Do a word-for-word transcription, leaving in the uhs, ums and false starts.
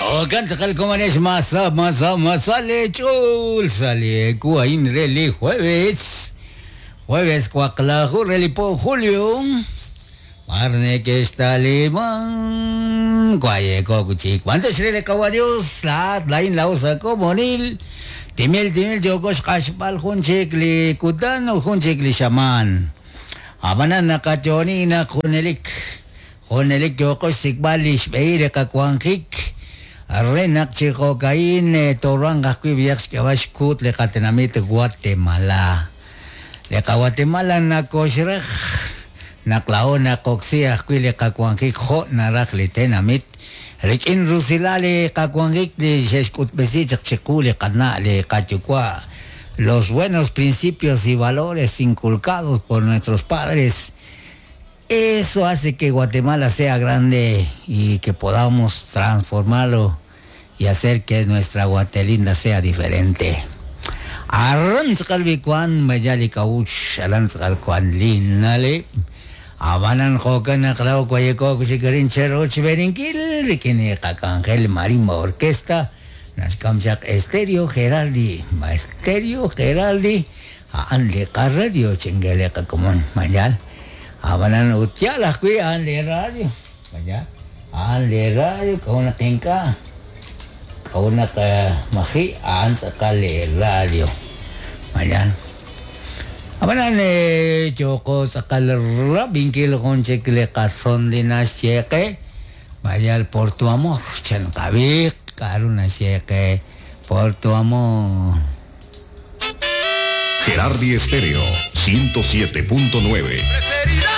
Okan masa masa masa lechul sale kuain reli jueves jueves cuaclaju reli po julio parne que está limón guaye cocuchi cuánto shrele kawa Dios la lain la usa como nil timil timil yokosh qashbal junchik li kutan junchik li shaman abanan nakachonina junelik junelik yokosh sikbal lishbeire kakuanjik Renak chijocaín toranga kuibiax kabash kut le katenamit Guatemala. Le Guatemala nakoshraj naklaona koxia kuile kakuanjik jo naraj le tenamit. Rikin rusilale kakuanjik le sheshkutbesi chikule kana le kachukua. Los buenos principios y valores inculcados por nuestros padres. Eso hace que Guatemala sea grande y que podamos transformarlo y hacer que nuestra Guatelinda sea diferente. Arrantzkalbikuan mayali kauch, arrantzkalkuan linale. Abanan jokan aklau kuayeko kushikarin cheroch berinkil, rikini kakangel marimba orquesta, naskamchak Estéreo Geraldi, Estéreo Geraldi, anle radio chingele kakumon mayal. Abanan utiala kui ande radio, vaya, ande radio kauna tinka, kauna ka mahi an sakale radio, vaya. Abanan eh choko sakal rabinkil con chekle kason dinas cheque, vaya por tu amor, chan kabik karuna cheque por tu amor. Gerardi Estéreo ciento siete punto nueve. Preferida.